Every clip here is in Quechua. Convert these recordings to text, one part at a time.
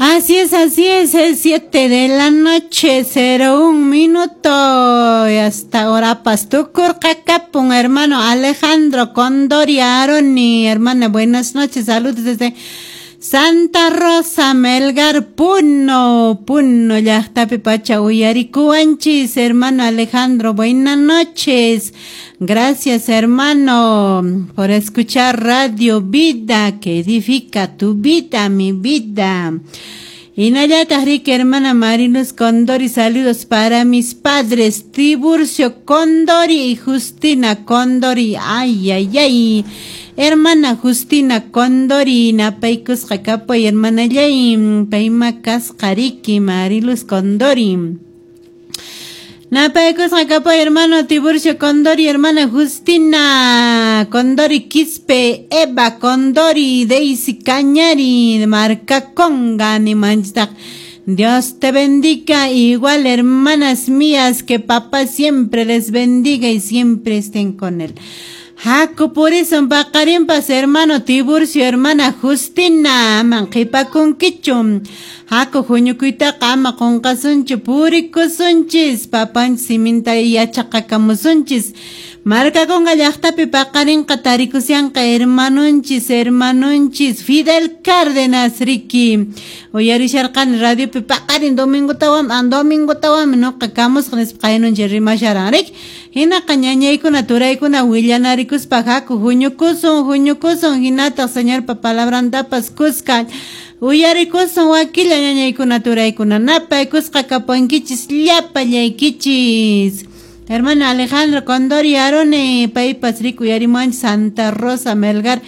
Así es 7 de la noche, 01 minuto. Y hasta ahora tukurqakapun, hermano Alejandro Condori Aroni, hermana, buenas noches, saludos desde Santa Rosa, Melgar, Puno, Puno, llaqtapi pacha uyarikuwanchis, hermano Alejandro, buenas noches. Gracias, hermano, por escuchar Radio Vida, que edifica tu vida, mi vida. Hinallataq riki hermana Marinus Condori, saludos para mis padres, Tiburcio Condori y Justina Condori. Ay, ay, ay. Hermana Justina Condori, napaykusqa kapuy, hermanallay, payma kasqa riki, Mariluz Condori. Napaykusqa kapuy, hermano Tiburcio Condori, hermana Justina Condori Quispe, Eva Condori, Daisy Cañari, Marca Conga, nimanchistaq. Dios te bendiga, igual hermanas mías, que papá siempre les bendiga y siempre estén con él. Haku purisun paqarinpas hermano Tiburcio, hermana Justina, aman qhipakunkichu. Haku huñukuytaqa ama qunqasunchu, purikusunchis, papanchis siminta yachaqakamusunchis. Markakunqa llaqtapi paqarinqa tarikusyanqa hermanunchis, hermanunchis, Fidel Cárdenas riki. Uyarisharqani radiopi paqarin domingotawan, an domingotawan nuqa kamusqa nispa qaynunchis rimasharan riki. Hinaqa ñañaykuna turaykuna willanarikuspa haku huñukusun, huñukusun, hinataq Señorpa palabrantapas kuska uyarikusun wakilla ñañaykuna turaykuna napaykusqa kapuwankichis llapallaykichis. Hermano Alejandro Condori Arone, paypas riku uyarimuwanchis Santa Rosa Melgar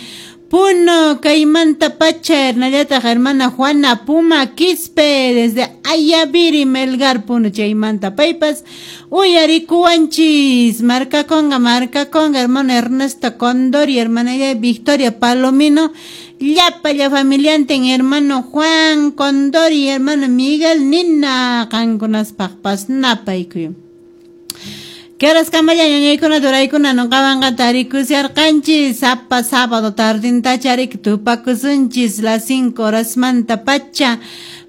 Puno, kaymanta pacha, hinallataq hermana Juana Puma Quispe, desde Ayaviri Melgar Puno, chaymanta paypas uyarikuwanchis. Markakunqa, markakunqa, hermano Ernesto Condori, hermana Victoria Palomino, llapalla familiantin, hermano Juan Condori, hermano Miguel Nina, qankunaspaqpas napaykuy. ¿Qué horas kamalla ñañaykuna turaykuna nuqawanqa tarikusharqanchis sapa sábado tardintacha riki tupakusunchis las 5 horas manta pacha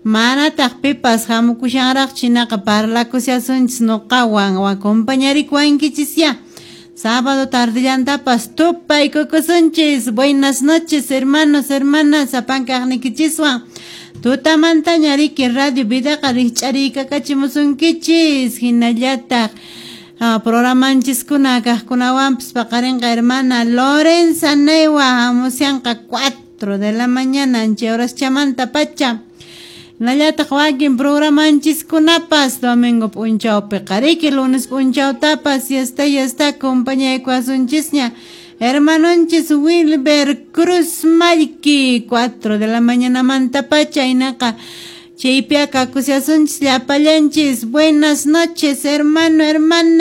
manataq pipas hamukushanraq chinaqa parlakushasunchis nuqawan acompañarikuwankichis ya. Sábado tardillantapas tupaykukusunchis. Buenas noches, hermanos, hermanas, sapankaqnikichiswan. Tutamantaña riki Radio Vidaqa rikch'ariykakachimusunkichis hinallataq programanchiskuna kaqkunawanpas paqarinqa hermana Lorenza Newa hamusyanqa 4 de la mañana ancha horaschamanta pacha. Hinallataq wakin programanchiskunapas domingo p'unchawpiqa riki lunes p'unchawtapas ya está acompañaykuwasunchisña hermanonchis Wilber Cruz Mallki 4 de la mañana manta pacha hinaqa chaypiqa kakushasunchis llapallanchis. Buenas noches, hermano, hermana.